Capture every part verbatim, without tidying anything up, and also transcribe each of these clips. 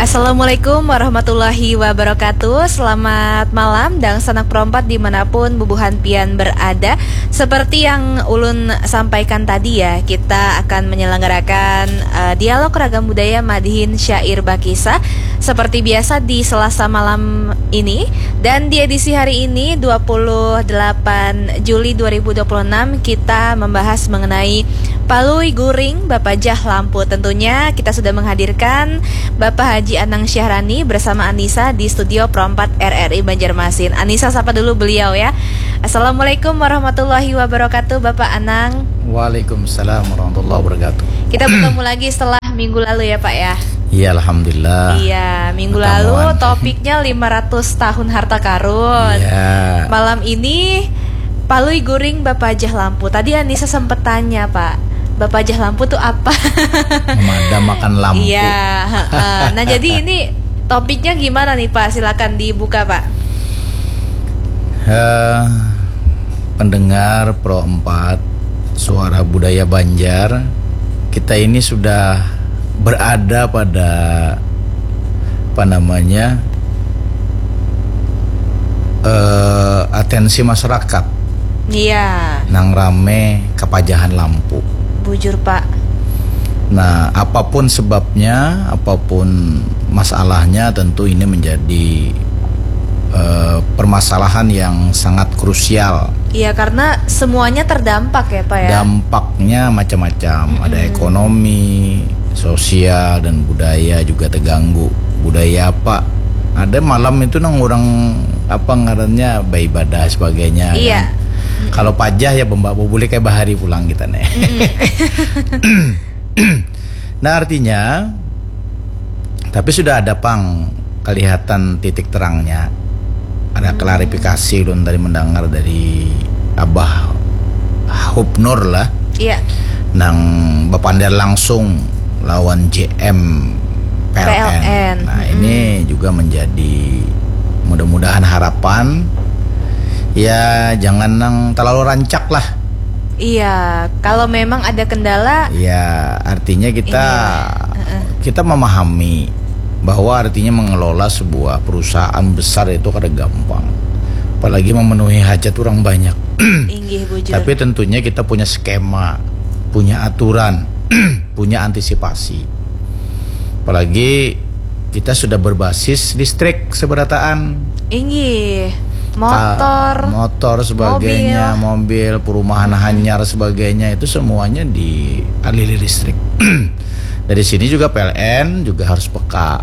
Assalamualaikum warahmatullahi wabarakatuh. Selamat malam, dangsanak perompat dimanapun bubuhan pian berada. Seperti yang ulun sampaikan tadi ya, kita akan menyelenggarakan eh, dialog ragam budaya madihin syair bakisah seperti biasa di Selasa malam ini. Dan di edisi hari ini, dua puluh delapan Juli dua ribu dua puluh enam, kita membahas mengenai Palui Guring Bapajah Lampu. Tentunya kita sudah menghadirkan Bapak Haji Anang Syahrani bersama Anissa di studio Pro empat R R I Banjarmasin. Anissa, sapa dulu beliau ya. Assalamualaikum warahmatullahi wabarakatuh, Bapak Anang. Waalaikumsalam warahmatullahi wabarakatuh. Kita bertemu lagi setelah minggu lalu ya, Pak ya. Iya, alhamdulillah. Iya, minggu lalu topiknya lima ratus tahun harta karun. Iya. Malam ini Palui Guring Bapajah Lampu. Tadi Anissa sempat tanya, Pak, Bapajah Lampu tuh apa? Memadam makan lampu. Iya, heeh. Nah, jadi ini topiknya gimana nih, Pak? Silakan dibuka, Pak. Eh, pendengar Pro empat, Suara Budaya Banjar, kita ini sudah berada pada, apa namanya, eh, atensi masyarakat. Iya. Nang rame kapajahan lampu. Bujur, Pak. Nah, apapun sebabnya, apapun masalahnya, tentu ini menjadi eh, permasalahan yang sangat krusial. Iya, karena semuanya terdampak ya, Pak ya. Dampaknya macam-macam. Ada ekonomi, sosial, dan budaya juga terganggu. Budaya apa? Ada malam itu nang orang, apa ngarannya, beribadah sebagainya. Iya. Kan? Kalau pajah ya, bembak bubulih kayak bahari pulang kita nih. Nah, artinya, tapi sudah ada pang kelihatan titik terangnya. Ada klarifikasi ulun tadi mendengar dari Abah Hubnur lah. Iya. Nang bapander langsung lawan J M P L N. P L N. Nah, ini juga menjadi, mudah-mudahan, harapan. Ya, jangan nang terlalu rancak lah. Iya, kalau memang ada kendala. Ya, artinya kita, ini ya, heeh, kita memahami bahwa artinya mengelola sebuah perusahaan besar itu kada gampang. Apalagi memenuhi hajat orang banyak. Inggih, bujur. Tapi tentunya kita punya skema, punya aturan, punya antisipasi. Apalagi kita sudah berbasis listrik seberataan. Inggih. Motor, motor sebagainya, mobil, perumahan hanyar sebagainya, itu semuanya dialiri listrik. Dari sini juga P L N juga harus peka.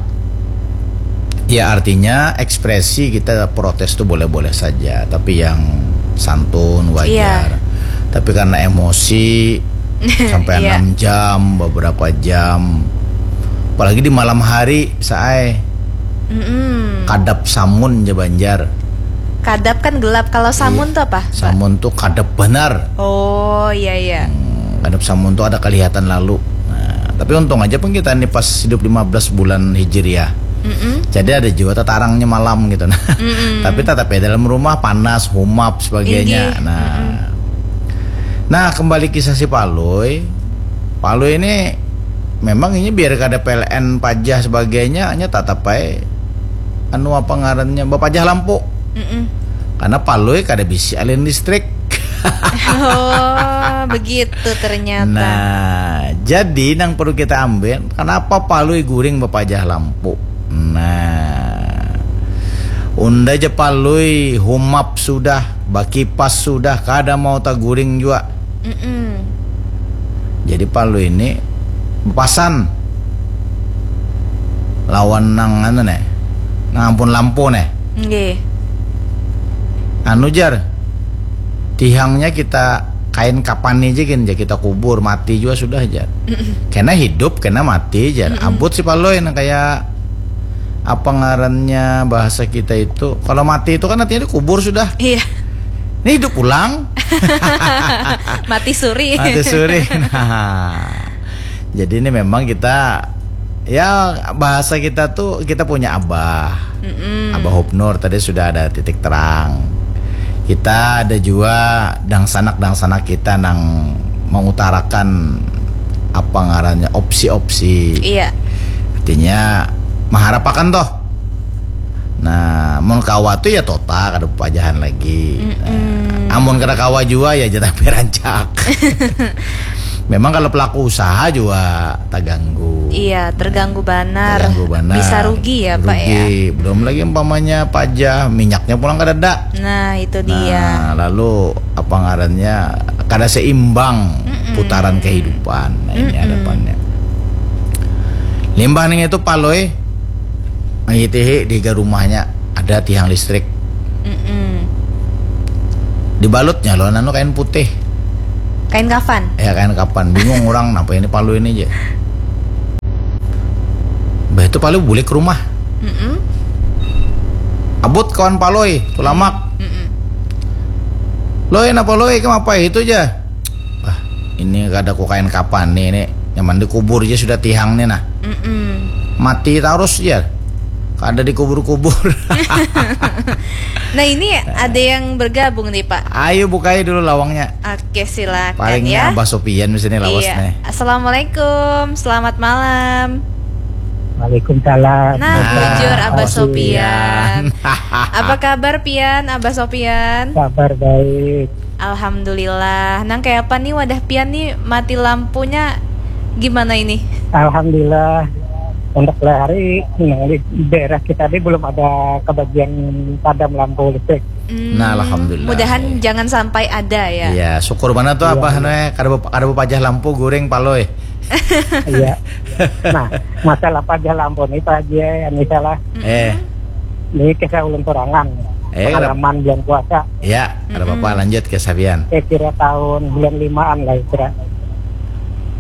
Ya, artinya ekspresi kita protes tuh boleh-boleh saja, tapi yang santun, wajar. Iya. Tapi karena emosi sampai, iya, enam jam, beberapa jam, apalagi di malam hari, saai. Mm-mm. Kadap samun ja Banjar. Kadap kan gelap. Kalau samun, iya, tuh apa, Pak? Samun tuh kadap benar. Oh, iya, iya. Hmm, kadap samun tuh ada kelihatan lalu. Nah, tapi untung aja pun kita nih pas hidup lima belas bulan Hijriah. Mm-mm. Jadi ada juga tetarangnya malam gitu. Nah, mm-mm, tapi tetap ya dalam rumah panas, humap sebagainya. Inggih. Nah. Mm-mm. Nah, kembali kisah si Palui. Palui ini memang ini biar kada P L N pajah sebagainya, hanya tatap ae anu apa ngarannya, bapajah lampu. Mm-mm. Karena Palui kada bisi alin listrik. Oh, begitu ternyata. Nah, jadi nang perlu kita ambil, kenapa Palui guring bapajah lampu? Nah, unda ja Palui humap sudah, bakipas sudah, kada mau taguring jua. Mm-mm. Jadi Palui ini bepasan lawan nang anu neh, nang ampun lampu neh. Nggih. Anu jar, tihangnya kita kain kapani aja gin, jar, kita kubur, mati juga sudah jar. Mm-mm. Kena hidup, kena mati jar. Mm-mm. Abut si Palui nang kayak apa ngarannya bahasa kita itu, kalau mati itu kan artinya dikubur sudah. Iya. Ini hidup ulang. Mati suri. Mati suri. Nah, jadi ini memang kita, ya, bahasa kita tuh, kita punya abah. Mm-mm. Abah Hubnur tadi sudah ada titik terang. Kita ada juga dangsanak-dangsanak kita nang mengutarakan apa ngarannya, opsi-opsi. Iya. Artinya maharapakan toh. Nah, mun kawa tu ya tota kada pajahan lagi. Nah, amun kada kawa jua ya jatah pirancak. Memang kalau pelaku usaha juga terganggu. Iya, terganggu banar. Terganggu banar. Bisa rugi ya, Pak, ya? Rugi. Belum lagi umpamanya pajah, minyaknya pulang kadada. Nah, itu dia. Nah, lalu apa ngarannya, kada seimbang putaran kehidupan. Nah, ini hadapannya. Limbah ning itu Palui mangitihi di higa rumahnya ada tiang listrik. Mm-mm. Dibalutnya lo nanu kain putih. Kain kafan. Ya, kain kafan. Bingung orang, napa ini Palui ini aja. Bah, itu Palui bulik ke rumah. Mm-mm. Abut kawan Palui, Tulamak. Mm-mm. Loi, napa Loi, kenapa itu aja? Wah, ini kada ku kain kafan nih, ini nyaman dikubur aja sudah tiang nih nah. Mm-mm. Mati terus aja. Kada dikubur-kubur. Nah, ini ada yang bergabung nih, Pak. Ayo bukai dulu lawangnya. Oke, silakan Palingnya ya. Abah Sopian di sini lawas Iya. nih. Assalamualaikum, selamat malam. Waalaikumsalam. Nah, Nah, bujur Abah Abah Sopian. Sopian. Apa kabar, Pian? Abah Sopian? Kabar baik. Alhamdulillah. Nang kayak apa nih wadah Pian nih, mati lampunya gimana ini? Alhamdulillah. Untuk hari nang di daerah kita ini belum ada kebagian padam lampu listrik. Hmm, Nah, alhamdulillah. Mudahan jangan sampai ada ya. Iya, syukur mana tuh Iya, Abah iya. Noe kada bep- kada bepajah lampu guring Palui. Iya. Nah, masalah pajah lampu ini Pak Haji, ya, ini salah. Eh, Ini kisah ulun sorangan. Eh, kada- Pengalaman bulan puasa. Ya, kada apa-apa, lanjut ke Sabian. Saya kira tahun bulan limaan lah kira.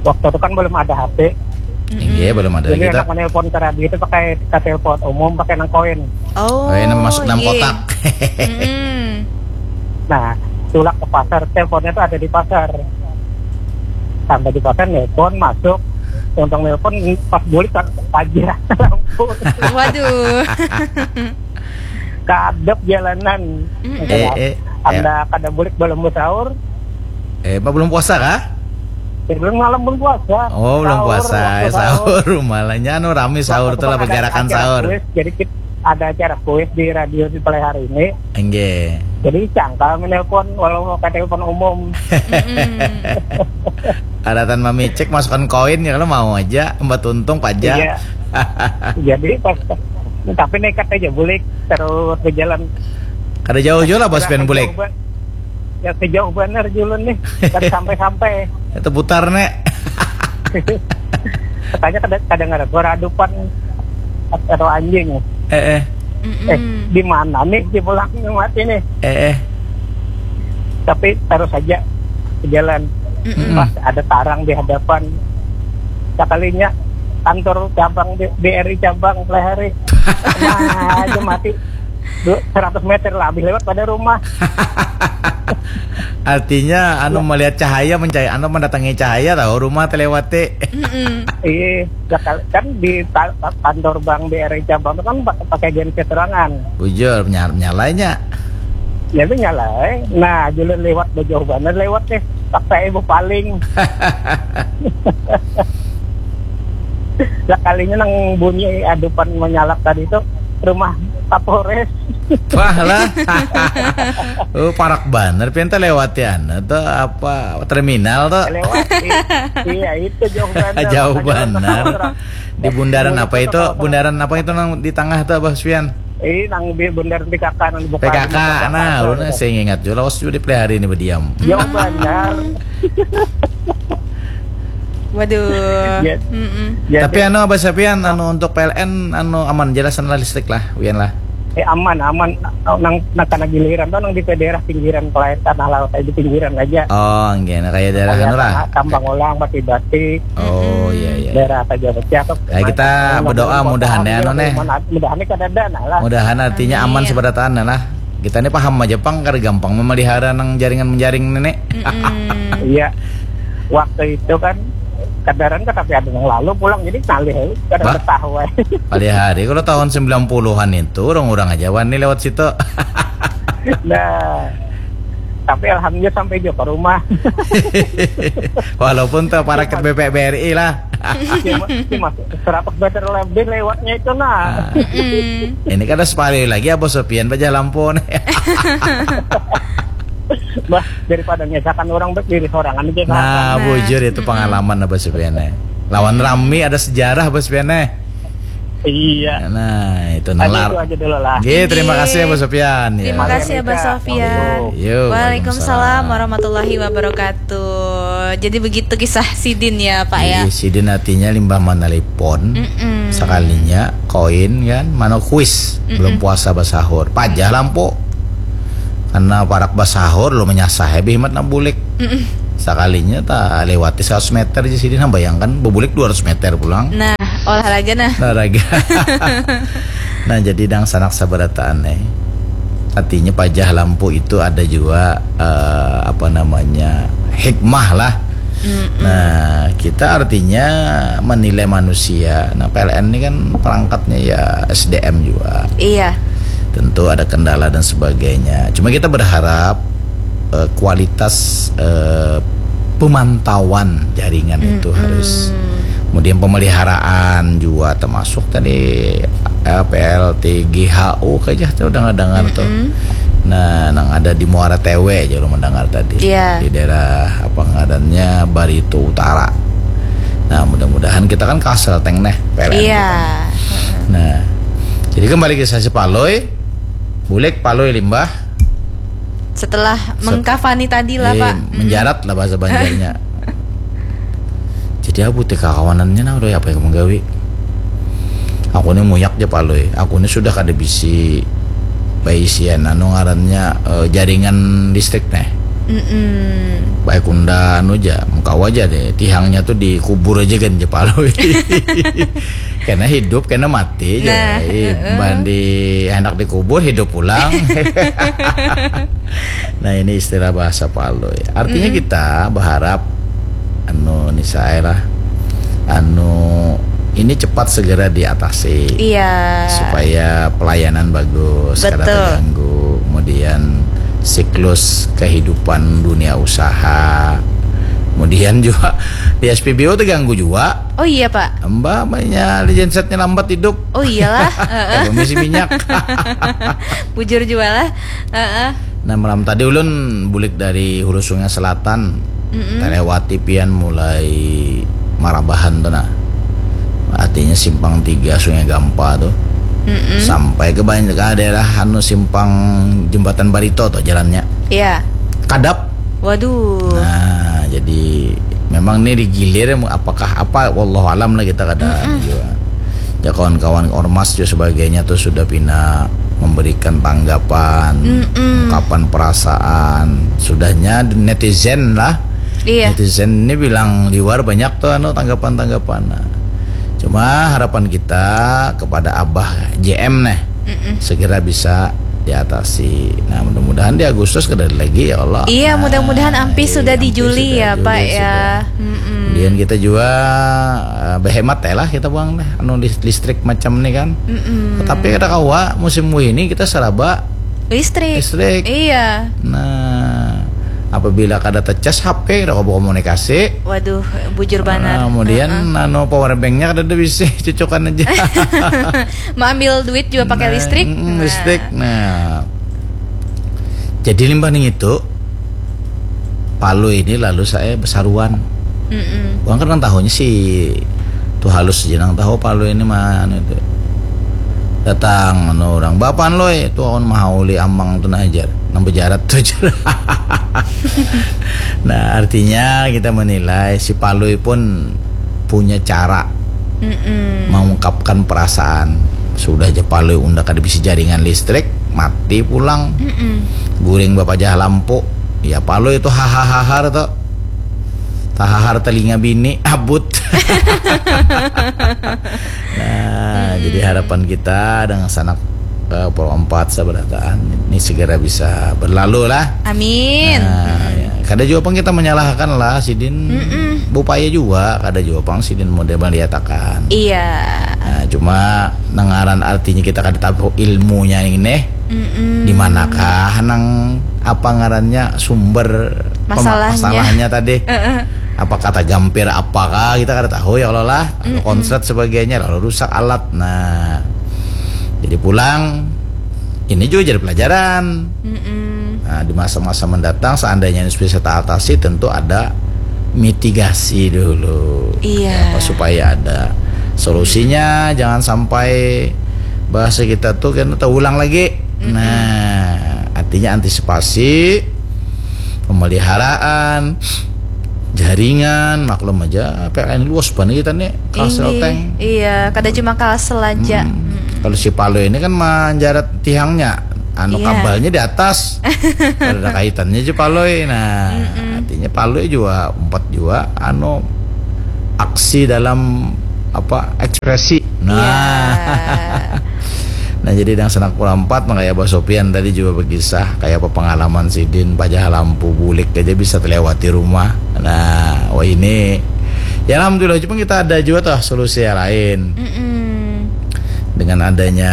Waktu itu kan belum ada H P. Iya, belum ada Jadi lagi anak tak. menelpon ke radio itu pakai, ke telepon umum pakai nang koin. Oh, Oh, ini masuk dalam iya. Kotak. Mm-mm. Nah, tulak ke pasar, teleponnya tuh ada di pasar. Sampai di pasar, nelpon, masuk. Untung nelpon, pas bulik, tak pajah lampu. Waduh. Kadep jalanan. Mm-mm. Eh, eh, Anda kada bulik belum sahur. Eh, apa belum puasa kah? Ya, belum malam belum puasa. Oh, belum Sahur, puasa. waktu Eh, sahur, malah anu rami sahur Waktu tuh lah, ada bergerakan acara sahur. Kuis, jadi kit- ada acara kuis di radio di Play hari ini. Enggak. Jadi sangkal menelpon walau mau ke telepon umum. Mm-mm. Ada tan mamicek masukkan koin ya kalau mau aja, mbak tuntung pajak. Iya. Jadi pas tapi nekat aja bulik terus berjalan. Kada jauh juga lah bos pen bulik. Jauh ba- Ya sejauh benar julun nih. Kan sampai-sampai. Itu putar nek. Katanya kada kada ngarep beradupan atau anjing. Eh eh. Eh, di mana nih di pulang mati nih? Eh eh. Tapi terus aja berjalan. Mm-mm. Pas ada tarang di hadapan. Sekalinya kantor cabang di, B R I cabang Plehari. Nah, aja mati. Du- seratus meter lah habis lewat pada rumah. Artinya anu melihat cahaya mencahaya, anu mendatangi cahaya tahu rumah telewati. Mm-mm. Iya, sekali- kan di ta- ta- kantor bank B R I cabang itu kan pa- pakai genset sorangan. Bujur nyal nyalanya. Ya itu nyala. Eh. Nah, julun lewat jauh banget lewat nih. Paksa ibu paling. Sekalinya nang bunyi adupan menyalak tadi itu rumah Kapolres. Wah lah. Oh, parak banar pian teh lewat ya. Anu tuh apa terminal tuh. Lewat. I- iya, itu jauh banget. Jauh Ada banar. orang. Di bundaran apa itu? Bundaran apa itu nang di tengah tuh Abah Supian? Ini nang di bundaran P K K nang dibuka. P K K, nah, ulun sing ingat juga lawas juga di Plehari ini berdiam. Jauh banar. Waduh. Ya. Mm-mm. Jadi, Tapi anu Abah Sapian anu untuk P L N anu aman jelasan lah listrik lah, Wian lah. eh, aman aman nang nang kana giliran tuh nang di daerah pinggiran kelayan tanah laut aja di pinggiran aja. Oh, enggak, nah, kayak daerah anu lah. Tambang Ulang, Bati-Bati, Oh, iya iya. Daerah Taja Pecah tuh. Ya, kita berdoa mudahan ya, anu, nih. Mudahan kada ada nah lah. Mudahan artinya aman seberataan lah. Kita ini paham aja pang kada gampang memelihara nang jaringan menjaring nenek. Mm-mm. Iya. Waktu itu kan kadaran kan tapi ada yang lalu pulang jadi ngalih aja kada Bah. Ketahuan. Pada hari kalau tahun sembilan puluhan itu orang-orang aja wani lewat situ. Nah. Tapi alhamdulillah sampai juga ke rumah. Walaupun tuh para ke B P B R I lah. Cuma, cuma seratus meter lebih lewatnya itu, nah. Ini kada sepali lagi Abah Sofian pajah lampu nih. Bah, daripada ngesakan orang, baik diri sorangan aja. Nah, bujur itu pengalaman Abah Sofian nih. Lawan rami ada sejarah Abah Sofian nih. Iya. Nah, itu Hanya nalar. Itu aja dulu lah. Oke, terima kasih Abah Sofian. Ya. Terima kasih Abah Sofian. Yo, Waalaikumsalam warahmatullahi wabarakatuh. Jadi begitu kisah sidin ya Pak ya. Iya, sidin artinya limbah manelpon. Mm-mm. Sekalinya koin kan, mana kuis. Belum puasa basahur. Pajah lampu. Karena parak basahur lo menyasah ya bihimat nak bulik. Sekalinya tak lewati seratus meter aja sidin, bayangkan bebulik dua ratus meter pulang. Nah, olahraga nah. Olahraga. Nah, jadi dangsanak sabarataan eh. Artinya pajah lampu itu ada juga eh, apa namanya, hikmah lah. Nah, kita artinya menilai manusia. Nah, P L N ini kan perangkatnya ya S D M juga. Iya. Tentu ada kendala dan sebagainya. Cuma kita berharap eh, kualitas eh, pemantauan jaringan itu harus, kemudian pemeliharaan juga, termasuk tadi eh, P L T G H U kayaknya tuh udah dengar tuh. Nah, nang ada di Muara Tewe aja lu mendengar tadi. Iya. Di daerah apa ngarannya, Barito Utara. Nah, mudah-mudahan kita kan kasel teng neh, P L N Iya. kita. Nah, jadi kembali ke sesi Palui. Bulik Palui limbah. Setelah mengkafani tadi lah Eh, Pak. Menjarat lah bahasa Banjarnya. Jadi aku teh kawanannya nah udah apa yang menggawi. Aku ini muyak aja Palui. Aku ini sudah kada bisi baisian anu ngarannya eh, jaringan listrik nih. Mm-mm. Baik unda anu aja, mengkawa aja deh. Tihangnya tuh dikubur aja kan aja Palui. Kena hidup, kena mati aja. Nah, Ih, bandi hendak dikubur, hidup pulang. Nah, ini istilah bahasa Palui. Artinya kita berharap anu ni saya lah, anu ini cepat segera diatasi. Iya. Supaya pelayanan bagus, kada Betul. terganggu. Kemudian siklus kehidupan dunia usaha. Kemudian juga di S P B U terganggu juga. Oh iya Pak. Mbak, banyak gensetnya lambat hidup. Oh iyalah. Heeh. Ada misi minyak. Bujur juga lah. Heeh. Nah, malam tadi ulun bulik dari Hulu Sungai Selatan. Terlewati pian mulai Marabahan tuh nah. Artinya simpang tiga Sungai Gampa tuh. Sampai ke banyak ke daerah anu simpang jembatan Barito tuh jalannya. Iya. Kadap. Waduh. Nah, jadi memang ini digilir apakah apa, wallahu alam lah, kita kada juga. Ya, kawan-kawan ormas juga sebagainya tuh sudah pina memberikan tanggapan, ungkapan perasaan. Sudahnya netizen lah. Iya. Netizen ini bilang liwar banyak tuh anu tanggapan-tanggapan. Nah, cuma harapan kita kepada Abah J M nih segera bisa diatasi. Nah, mudah-mudahan di Agustus kada ada lagi ya Allah. Iya, Nah, mudah-mudahan ampih iya, sudah di ampih Juli sudah ya, Juli Pak sudah. Ya. Mm-mm. Kemudian kita juga eh, berhemat ya lah kita buang deh anu lis- listrik macam ni kan. Mm-mm. Tapi kada kawa musim ini kita seraba Listrik. Listrik. Iya. Nah, apabila kada tecas H P kada kawa komunikasi. Waduh, bujur banget. Nah, kemudian anu power banknya kada ada bisi cucukan aja. Mau ambil duit juga pakai Nah, listrik. mm, Nah. Listrik. Nah, jadi limbah ning itu Palui ini lalu saya besaruan. Mm-mm. Bukan kan tahunya si tuh halus aja nang tahu Palui ini mana itu. Datang anu orang, "Bapan Loi, tuh awan mahauli amang tuh nah," jar. Nang bejarat tuh jar. Nah, artinya kita menilai si Palui pun punya cara Mm-mm. mengungkapkan perasaan. Sudah aja Palui unda kada bisa jaringan listrik, mati pulang. Mm-mm. Guring bapajah lampu. Ya Palui itu hahaha tuh. Tahahar telinga bini abut. Nah, jadi harapan kita dengan sanak eh, Pro empat sabarataan ini segera bisa berlalu lah. Amin. Nah, ya. Kada juga pang kita menyalahkan lah sidin bupaya juga, kada juga pang sidin model meliatakan. Iya. Nah, cuma nangaran artinya kita kada tahu ilmunya ini Mm-mm. di manakah nang apa ngarannya sumber pema- Masalahnya. Masalahnya tadi. Heeh. apa kata gampir apakah, kita kada tahu ya kalau lah, lalu Mm-mm. konslet sebagainya, lalu rusak alat. Nah, jadi pulang, ini juga jadi pelajaran. Mm-mm. Nah, di masa-masa mendatang, seandainya ini bisa teratasi, tentu ada mitigasi dulu. Iya. Apa, supaya ada solusinya, jangan sampai bahasa kita tuh kan terulang lagi. Mm-mm. Nah, artinya antisipasi, pemeliharaan, jaringan, maklum aja P L N luas banget kita nih, Kalsel. Inggih. Tank. Iya, kada cuma Kalsel aja. Hmm. Mm-mm. Kalau si Palui ini kan manjarat tiangnya, anu, iya, kabelnya di atas. Kada ada kaitannya aja Palui. Nah, mm-mm, artinya Palui juga umpat juga, anu, aksi dalam apa, ekspresi. Nah. Iya. Nah, jadi nang sanak pulang empat, makanya Abah Sopian tadi juga berkisah kayak apa pengalaman sidin, pajah lampu bulik aja bisa terlewati rumah. Nah, wah ini, ya alhamdulillah, cuma kita ada juga toh solusi yang lain. Mm-mm. Dengan adanya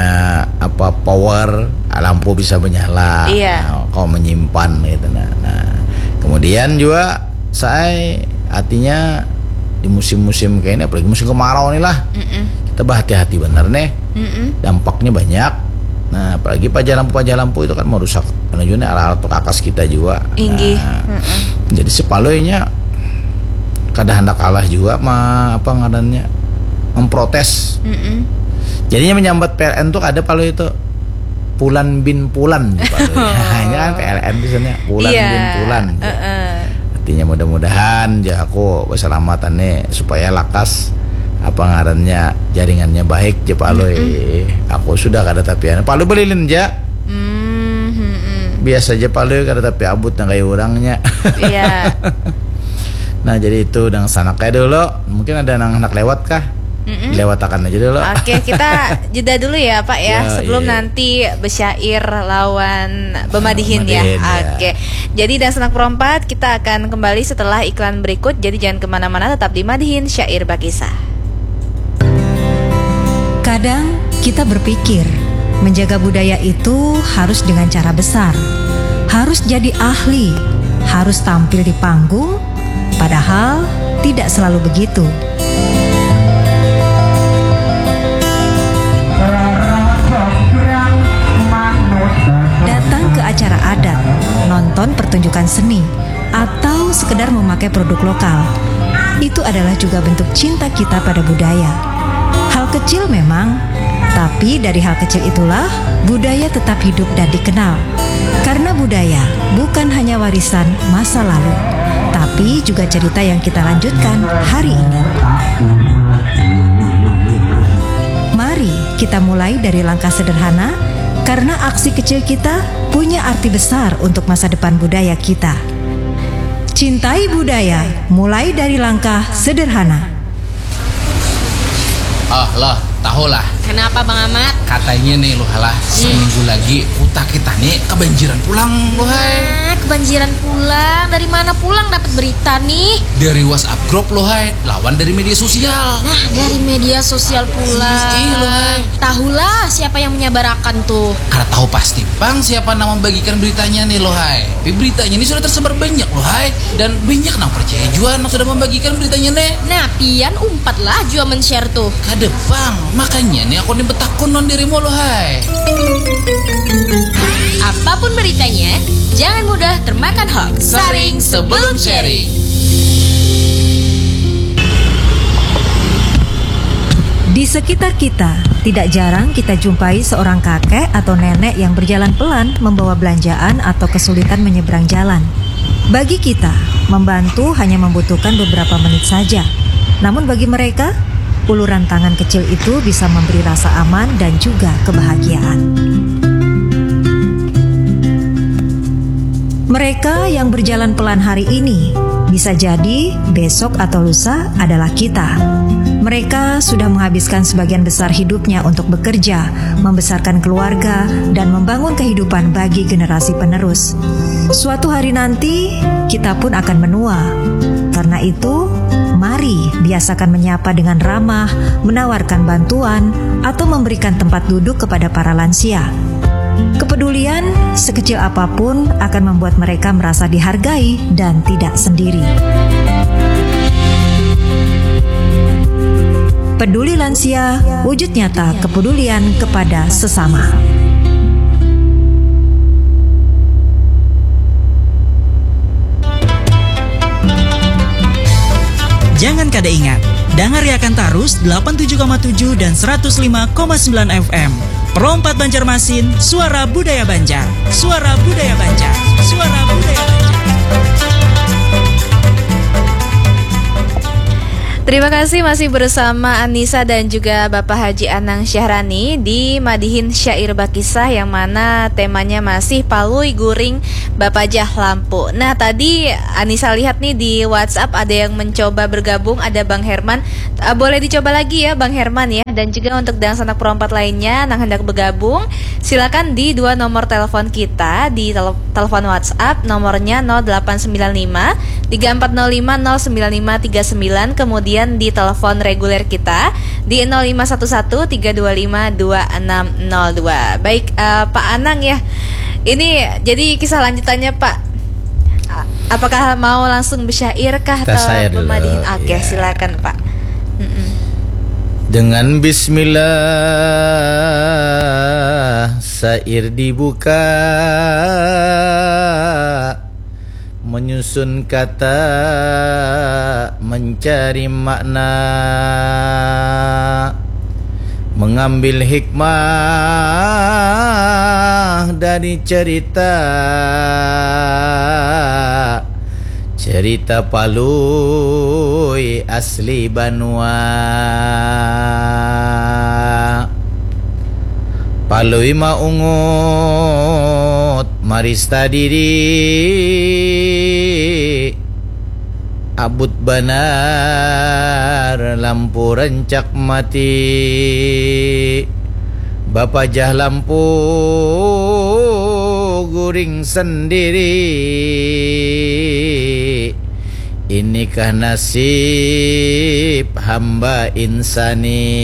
apa, power, lampu bisa menyala. Iya. Nah, kau menyimpan gitu. Nah, nah, kemudian juga saya artinya di musim-musim kayak ini, apalagi musim kemarau nih lah, mm-mm, kita berhati-hati bener nih. Mm-mm. Dampaknya banyak. Nah, apalagi pajah lampu, pajah lampu itu kan merusak, karena juga nih alat-alat perkakas kita juga. Inggih. Nah, mm-mm, jadi si Palui nya kada hendak kalah juga ma-, apa ngarannya, memprotes. Mm-mm. Jadinya menyambat P L N tuh ada Palui itu Pulan bin Pulan, Palui. Hanya kan P L N biasanya Pulan, iya, bin Pulan. Heeh. Artinya mudah-mudahan ja aku keselamatan nih supaya lakas apa ngarannya, jaringannya baik ja Palui. Mm-mm. Aku sudah kada tapi anu, Palui belilin ja. Mm, mm-mm. Biasa ja Palui kada tapi abut nang kayak orangnya. Iya. Nah, jadi itu nang sanak kayak dulu. Mungkin ada nang hendak lewat kah? Mm-mm. Lewatakan aja dulu. Oke, kita jeda dulu ya, Pak, ya, ya, sebelum, iya, nanti besyair lawan bemadihin ya. Bemadihin, ya. Oke. Jadi, dan senang perompat, kita akan kembali setelah iklan berikut. Jadi, jangan kemana-mana, tetap di Madihin Syair Bakisah. Kadang kita berpikir, menjaga budaya itu harus dengan cara besar, harus jadi ahli, harus tampil di panggung, padahal tidak selalu begitu. Datang ke acara adat, nonton pertunjukan seni, atau sekedar memakai produk lokal, itu adalah juga bentuk cinta kita pada budaya. Hal kecil memang, tapi dari hal kecil itulah budaya tetap hidup dan dikenal. Karena budaya bukan hanya warisan masa lalu, tapi juga cerita yang kita lanjutkan hari ini. Mari kita mulai dari langkah sederhana, karena aksi kecil kita punya arti besar untuk masa depan budaya kita. Cintai budaya, mulai dari langkah sederhana. Oh, Loh, tahu lah. Kenapa, Bang Amat? Katanya nih, Loh, lah, hmm, seminggu lagi kuta kita nih kebanjiran pulang, Loh, hai. Nah, kebanjiran pulang. Dari mana pulang dapat berita nih? Dari WhatsApp grup, Loh, hai. Lawan dari media sosial. Nah, dari media sosial pulang. Iya, Loh, hai. Tahulah siapa yang menyabarakan tuh. Kada tahu pasti pang siapa nang membagikan beritanya nih, Loh, hai. Tapi beritanya ini sudah tersebar banyak, Loh, hai. Dan banyak nang percaya jua nang sudah membagikan beritanya nih. Nah, pian umpatlah jua men-share tuh. Kada pang, makanya nih aku nih betakun lawan dirimu, Loh, hai. Apapun beritanya, jangan mudah termakan hoax. Saring sebelum sharing. Di sekitar kita, tidak jarang kita jumpai seorang kakek atau nenek yang berjalan pelan membawa belanjaan atau kesulitan menyeberang jalan. Bagi kita, membantu hanya membutuhkan beberapa menit saja. Namun bagi mereka, uluran tangan kecil itu bisa memberi rasa aman dan juga kebahagiaan. Mereka yang berjalan pelan hari ini, bisa jadi besok atau lusa adalah kita. Mereka sudah menghabiskan sebagian besar hidupnya untuk bekerja, membesarkan keluarga, dan membangun kehidupan bagi generasi penerus. Suatu hari nanti, kita pun akan menua. Karena itu, mari biasakan menyapa dengan ramah, menawarkan bantuan, atau memberikan tempat duduk kepada para lansia. Kepedulian sekecil apapun akan membuat mereka merasa dihargai dan tidak sendiri. Peduli lansia, wujud nyata kepedulian kepada sesama. Jangan kada ingat, dangariakan tarus delapan tujuh koma tujuh dan seratus lima koma sembilan F M. Pro empat Banjarmasin, suara budaya Banjar. Suara budaya Banjar. Suara budaya Banjar. Terima kasih, masih bersama Anissa dan juga Bapak Haji Anang Syahrani di Madihin Syair Bakisah, yang mana temanya masih Palui Guring Bapajah Lampu. Nah, tadi Anissa lihat nih di WhatsApp ada yang mencoba bergabung, ada Bang Herman. Eh, boleh dicoba lagi ya, Bang Herman ya. Dan juga untuk dangsanak Pro empat lainnya nang hendak bergabung, silakan di dua nomor telepon kita, di tele-, telepon WhatsApp, nomornya nol delapan sembilan lima tiga empat nol lima nol sembilan lima tiga sembilan, kemudian di telepon reguler kita di nol lima satu satu tiga dua lima dua enam nol dua. Baik, eh, Pak Anang ya. Ini jadi kisah lanjutannya, Pak. A-, apakah mau langsung bersyair kah atau Tasyair dulu, pemadihin? Oke, ya. Silakan, Pak. Mm-mm. Dengan bismillah, syair dibuka, menyusun kata, mencari makna, mengambil hikmah dari cerita, cerita Palui asli banua. Palui maungut marista diri, abut banar lampu rancak mati, bapajah lampu guring sendiri. Inikah nasib hamba insani?